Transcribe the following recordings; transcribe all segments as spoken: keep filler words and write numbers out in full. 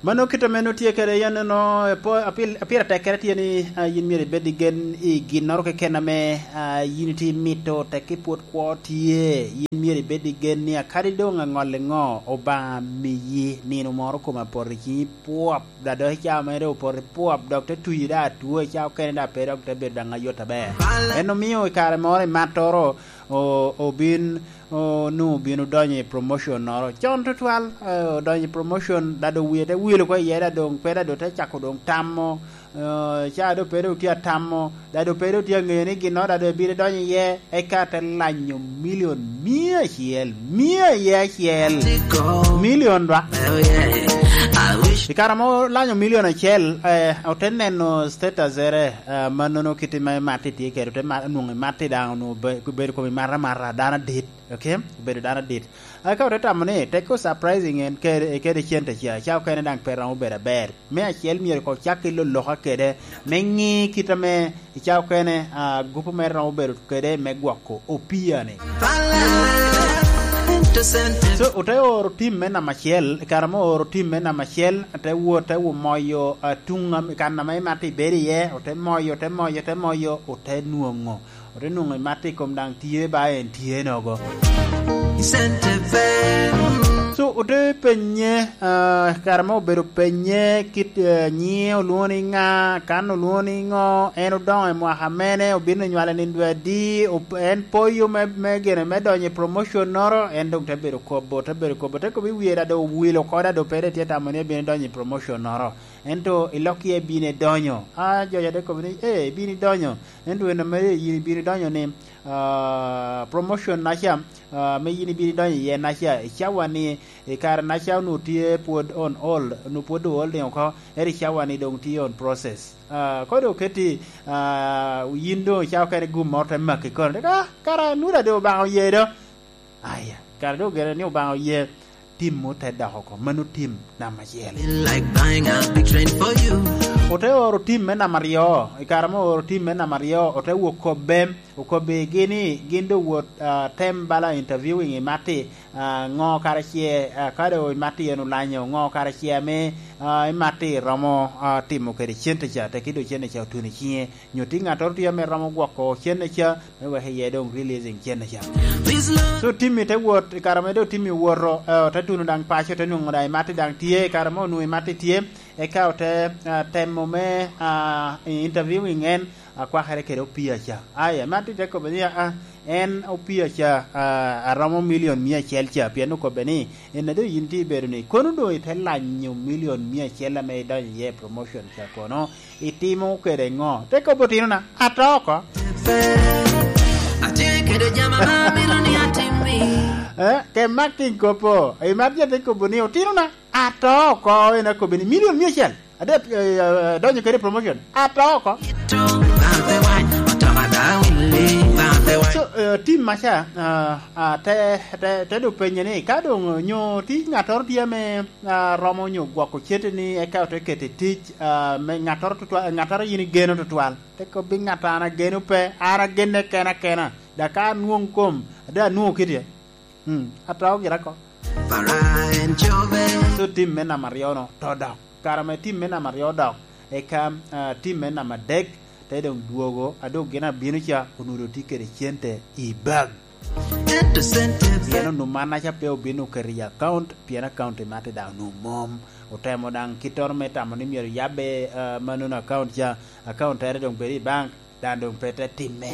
Mano kit ame nwoŋo tye kede, yan nono, epo-, apil-, apira tekkere tye ni, ah, yin myero ibed i gen i ginnoro keken ame, ah, yin itye imito, tekki pwod kwo tye, yin myero ibed i gen ni akadi doŋ aŋolle ŋo, Obaŋa miyi nino moro kome apoto i ciŋi pwop, dok dok i cawa mere opoto pwop, dok te tuyi daŋ atwo, i cawa okene daŋ pe dok te bedo daŋ ayot aber. En omio i kare moro i mattoro, o-, obin, onwoŋo obin odonyo i promotion noro. Con tutwal, eh, odonyo i promotion, dado wie te wilo oko iye, dado doŋ pe, dado te cako doŋ tamo, eh, ca dado pe dok tye atamo, dado pe dok tye aŋeyo ni gin noro dado ebino donyo iye, eka te lanyo milion mia acel, mia iye acel. Milion dwa. I kare ma olanyo milion acel, eh, ote neno status ere, eh, mannono kit ma Matti tye kede, ote ma-, onwoŋo Matti daŋ onwoŋo be-, bedo kom i maramara, dano adit, okay? Obedo dano adit. Eka ote tamo ni, tekki surprising en kede, kede cente ca, ca okene daŋ pe romo bedo aber. Me acel myero koŋ cak ki loloka kede, me ŋi kit ame i ca okene, ah, gupu mere romo bedo kede me gwoko opia-ni. So, ote oro tim me namba acel, i kare ma ooro tim me namba acel, te wot, te wo moyo, ah, tuŋ am-, kan ame Matti bedo iye, ote moyo, ote moyo, ote moyo, ote nwoŋo. Ote nwoŋo Matti kom daŋ tye ba en tye nogo. So, ote penye, ah, kare ma obedo penye kit, eh, nyiŋe olwoŋo ni ŋa, kan olwoŋo ni ŋo, en odoŋo i mwaka mene, obino nywale nindo adi, op-, en poyo me, me gene me donyo i promotion noro, en doŋ te bedo kobo, te bedo kobo, te kobo i wie dado owilo oko dado pe dok tye tamo ni ebino donyo i promotion noro. Ento i lok iye bino edonyo. A, jo ca te kobo ni, "Eh, ibino idonyo." Ento en ame yin ibino idonyo ni, ah, promotion naca, ah, ame yin ibino idonyo iye naca, i cawa ni, i kare naca onwoŋo tye pwod on hold, onwoŋo pwod o holding oko, ento i cawa ni doŋ tye on process. Ah, kodi oketi, ah, yin doŋ i cawa okene gum moro te maki kono, ah, kara nura doŋ Obaŋa oye do. Aya, kara doŋ ogene ni Obaŋa oye, tim ote dok oko. Mano tim namba acel. Feel like buying a big train for you. Ote oro tim me namba aryo. I kare ma ooro tim me namba aryo, ote wok kobbe, okobbigi ni gin doŋ wot, ah, tem bala interviewing i Matti, ah, ŋo kara ce, ah, ka doŋ i Matti en olanyo, ŋo kara ce ame, ah, i Matti romo, ah, timo kede cente ca, tekki doŋ cente ca otuno i ciŋe. Nyo tye ŋattoro tye ame romo gwoko cente ca, me wek iye doŋ releasing cente ca. So, Timmy te wot, i kare ame doŋ Timmy owoto, eh, ote tuno daŋ paco, te nwoŋo daŋ i Matti daŋ tye, i kare ame onwoŋo i Matti tye, eka ote, ah, temo me, ah, interviewing en, akwakere kede opia ca. Aya, Matti te kobbe ni, "Ah, ah, en opia ca, ah, aromo milion mia acel ca," pien okobbe ni, "En a doŋ yin tye ibedo ni, kono doŋ ite lanyo milion mia acel ame idonyo iye i promotion ca kono?" Itimo kede ŋo? Te kobbi otinona, ato oko. Atye kede jami ame amito ni atimmi. Eh, ke mak king kopo. I mat ja te kobo ni, "Otinona, ato oko." En akobbi ni, "Milion mia acel. Ade, eh, eh, donyo kede promotion. Ato oko." So, eh, tim maca, ah, ah, te, te, te do penye ni, ka doŋ nyo ti ŋattoro tye ame ah, romo nyo gwoko cente ni eka ote keto i tic, ah, me ŋattoro tutwal, ŋattoro yin igeno tutwal. Te kobbi ŋat an ageno pe, an agenne kena kena. Dok ka anwoŋ kom, ade anwoŋo kite. Hmm, ato gira ko. So tim me namba aryo no, to dok. Kare ame tim me namba aryo odok, eka, ah, tim me namba adek, te doŋ dwogo, a doŋ gin abino ca, onwoŋo doŋ tye kede cente i bag. Pien onwoŋo mannaca pe obino oketo i account, pien account i Matti daŋ onwoŋo mom. Otemo daŋ kittoro me tamo ni myero yabbe, ah, manono account ca, account tere doŋ bedo i bank, daŋ doŋ pe te timme.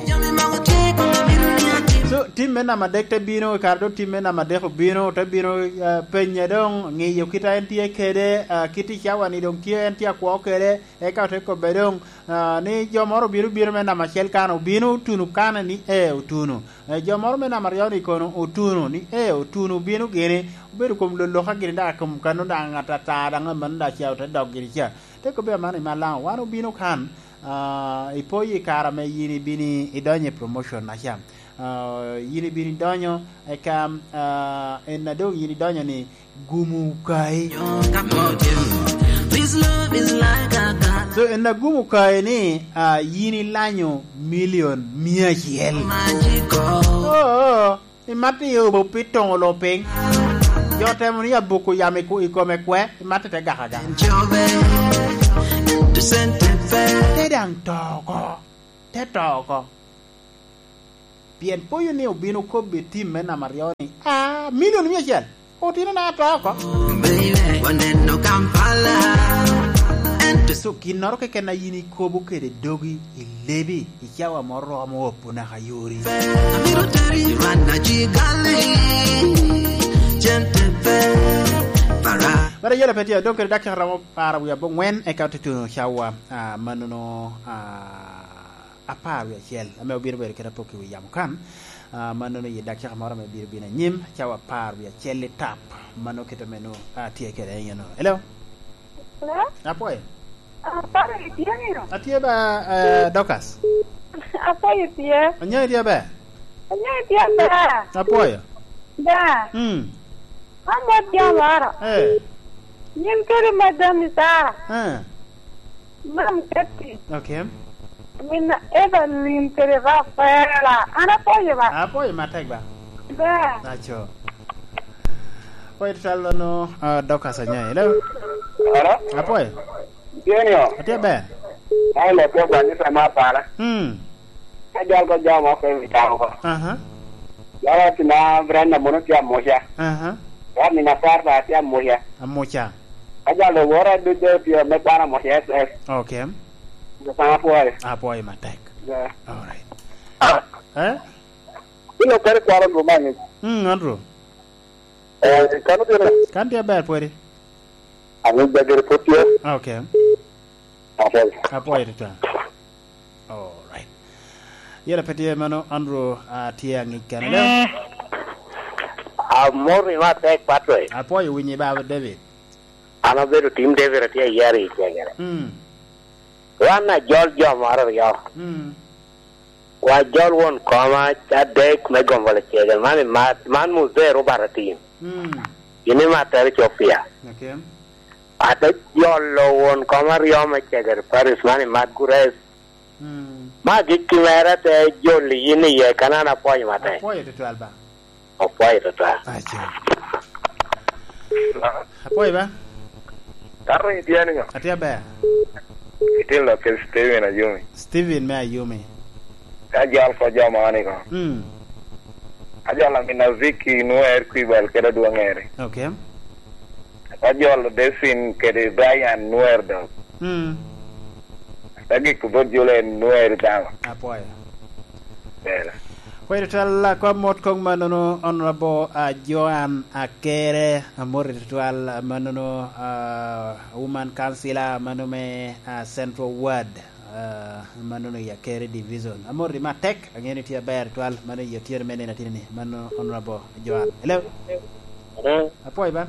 So, tim me namba adek te bino, i kare doŋ tim me namba adek obino, te bino, ah, penye doŋ, ŋiyo kit a en tye kede, ah, kit i cawa ni doŋ tye, en tye akwo kede, eka ote kobbe doŋ, ah, ni jo moro obino, bino me namba acel kan, obino otuno kan ni, "Ee, otuno." Eh, jo moro me namba aryo ni kono otuno, ni, "Ee, otuno obino gini, obedo kom loloka gini, daŋ kom kano daŋ atata, daŋ aman daŋ ca ote dok gini ca." Te kobbe aman i malaŋo, wan obino kan, ah, ipoyo i kare ame yin ibino idonyo i promotion naca. Ah, yin ibino idonyo, eka, ah, en a doŋ yin idonyo ni, gumu kayi. So, en a gumu kayi ni, ah, yin ilanyo milion mia acel. Oh, oh, imatte i obo pi toŋo lo piny. Otemo ni abuko yamo i ku-, i kome kwe, imatte te gaka gaka. Te daŋ to oko. Te to oko. Pien poyo ni obino kobbe i tim me namba aryo ni, "Ah, milion mia acel. Otino na to oko." So, ginnoro keken a yin ikobo kede dogi, i lebi, i cawa moro romo opo naka yori. Bara yela pe tye, adong kede dakika romo apar wiye abongwen, eka otutuno cawa, ah, manono, ah, apar wiye acel, ame obino bedo kede apok i wi yamo kan. Ah, manono i dakika moro ame bino bino anyim, cawa apar wiye acel i tap, mano kit ame nwoŋo atye kede eno. Hello? Hello? Apwoyo. Apwoyo itye nino? Atye ba, eh, Dorcas. Apwoyo itye? Anyo itye ber? Anyo itye ber? Apwoyo. Da. Mm. Amot jo moro. Eh. Yin kede madam Sara. Eh. Mam Kati. Okay. Min Evelyn kede Rafaela. An apwoyo ba. Apwoyo matek ba. Ba. Aco. Apwoyo tutwal no, ah, Dorcas Anyai. Hello? Hello? Apwoyo. Tye nio? Atye ber. Ai, lo pe ba ni sama pala. Hmm. Ka jal ko jam oko i wi tam oko. Aha. Jal ati na Brenda mono tye amuca. Aha. Wat ni na Sarda tye amuca. Amuca. Ka jal owora duc de tye me kwana amuca S S. Okay. Nyo sana pwoyo. Apwoyo matek. Yeah. All right. Eh? Ino kare kwaro Andrew Mang'e. Mm, Andrew. Eh, kano tye na? Kan tye aber pwodi. Ani jagere pwod tye. Okay. Apwoyo. Apwoyo tutwal. All right. Yela pe tye mano, Andrew, ah, tye aŋic kene. Amor ni matek, Patrick. Apwoyo winyi, Baba David. An abedo tim David, atye ayero i cegere. Mm. Wan ajol jo moro aryo. Mm. Wa jol won koma adek me gombo lecegere. Man i mat, man muzee Robert Atim. Mm. Gin i mat tere Ethiopia. Okay. Ate jolo won koma aryo me cegere Paris, man i mat Gures. Mm. Ma gikki mere te joli yin iye, kan an apwoyo matek. Apwoyo tutwal ba. Apwoyo tutwal. Aco. Apwoyo ba. Taro itye ni ŋo? Atye aber. Itye lok kede Steven Ayumi. Steven me Ayumi. Ka jal ko jo moni ko. Mm. Ajol amin Aziki Nuer Kwibal kede Adwoŋ Eri. Okay. Ajol Desin kede Brian Nuer dok. Mm. Agik bot Julian Nuer dama. Apwoyo. Bela. Kwero tal akwa mot kong manono Honorable, ah, Joan Akere, amor tutwal, ah, manono, ah, Woman Councilor, mano me, ah, Central Ward. Ah, mano ni Akere Division. Amor i matek, ang'e ni tye aber twal, mano i otyeno me nino atini ni, mano Honorable Joan. Hello? Hello? Apwoyo ba?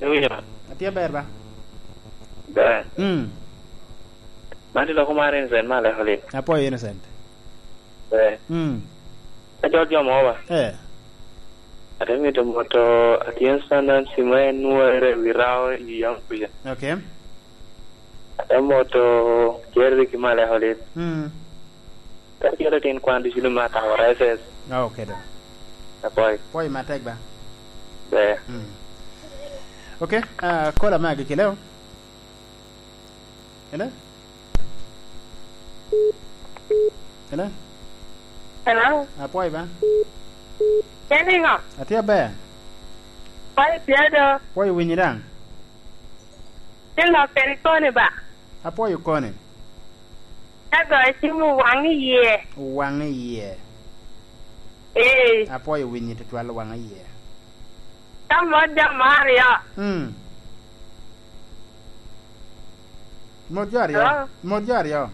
Ewinyo? Atye aber ba? Ber. Mm. Man iloko mar Innocent ma aleko lit. Apwoyo Innocent. Ber. Mm. Ka jol jo mo ba? Eh. Ate mito moto Atien Sundance ma en nwere wi rawo i yam kuca. Okay. Ate moto Jerry ki Maleko lit. Mm. Ka kelo tin kwan ducu ni ma tamo reses. Ah, okay, do. Apoi. Poi matek ba? Be. Mm. Okay, ah, kola magi kileo. Hello? Hello? Hello? Apoi ba? Keni ngo? Atye aber. Poi pye do. Poi winyi daŋ. Ti lok keni koni ba? Apwoyo koni. Ka goyo cim owaŋ iye. Owaŋ iye. Ee. Apwoyo winyi tutwal owaŋ iye. Ka mot jo mo aryo. Mm. Mot jo aryo. Hello? Mot jo aryo.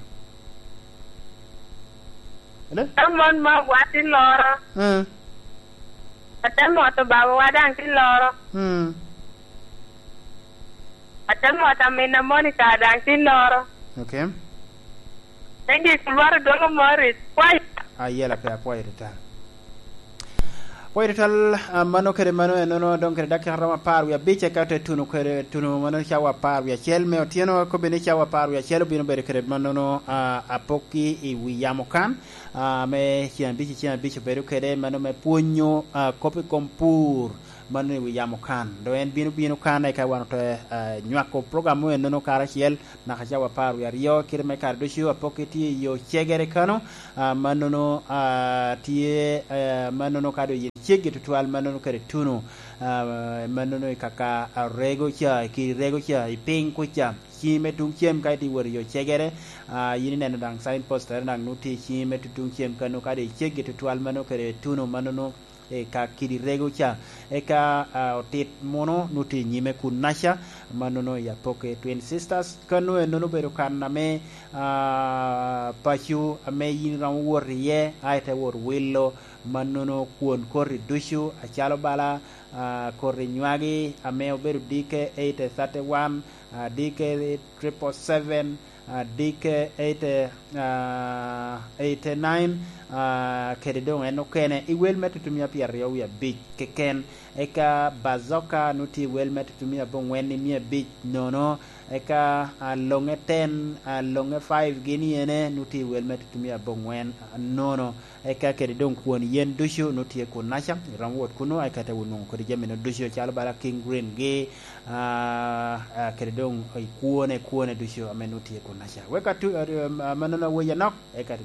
Hello? Ka mon mo wati loro. Mm. Ate moto babawa daŋ ti loro. Mm. Ate moto amina Monica daŋ ti loro. Okay. Thank you, Kulwaro Dwongo Morris. Kwai. Ayela pe apwoyo tutwal. Apwoyo tutwal, ah, mano kede mano enono, dong kede dakika romo apar wie abic, eka te tuno kede, tuno mano cawa apar wie acel me otyeno, kobbe ni cawa apar wie acel obino bedo kede manono, ah, apokki i wi yamo kan, ah, me ceng abic i ceng abic obedo kede mano me pwonyo, ah, kop i kom pur. Mano i wi yamo kan. Dong en bino bino kan, eka wan ote, ah, nywako program mu ennono karacel, naka cawa apar wie aryo, kite me kare ducu apokke tye i yo cegere kano, ah, mannono, ah, tye, eh, mannono ka doŋ yin ceggi tutwal, mannono kede tuno, ah, mannono i kaka, ah, rego ca, i kidi rego ca, i piny kuca, ciŋi me tuŋ cem ka itye wot i yo cegere, ah, yin ineno daŋ signpost ere daŋ nwoŋo tye i ciŋi me tutuŋ cem kano, ka doŋ iceggi tutwal mannono kede tuno mannono, eka kidi rego ca. Eka, ah, otit muno nwoŋo tye i nyime kun naca, mannono i Apoke Twin Sisters. Kano ennono obedo kan ame, ah, paco ame yin iromo wot iye, a ite wot wilo, mannono kwon koti ducu, acalo bala, ah, koti nywagi ame obedo D K eight thirty-one, ah, D K triple seven, ah, D K eight, ah, eighty-nine, ah, kede doŋ en okene i wel me tutumia pyeraryo wie abic keken, eka Bazoka nwoŋo tye i wel me tutumia abongwen i mia abic nono, eka, ah, Loŋe ten, ah, Loŋe five gin iyene nwoŋo tye i wel me tutumia abongwen nono, eka kede doŋ kwon yen ducu nwoŋo tye kunnaca, iromo wot kuno, eka te wot nwoŋo kodi jami-nu ducu, calo bala King Green gi, ah, ah, kede doŋ i kwone, kwone ducu ame nwoŋo tye kunnaca. Wek atu-, ah, ah, mannono aweyi anok, eka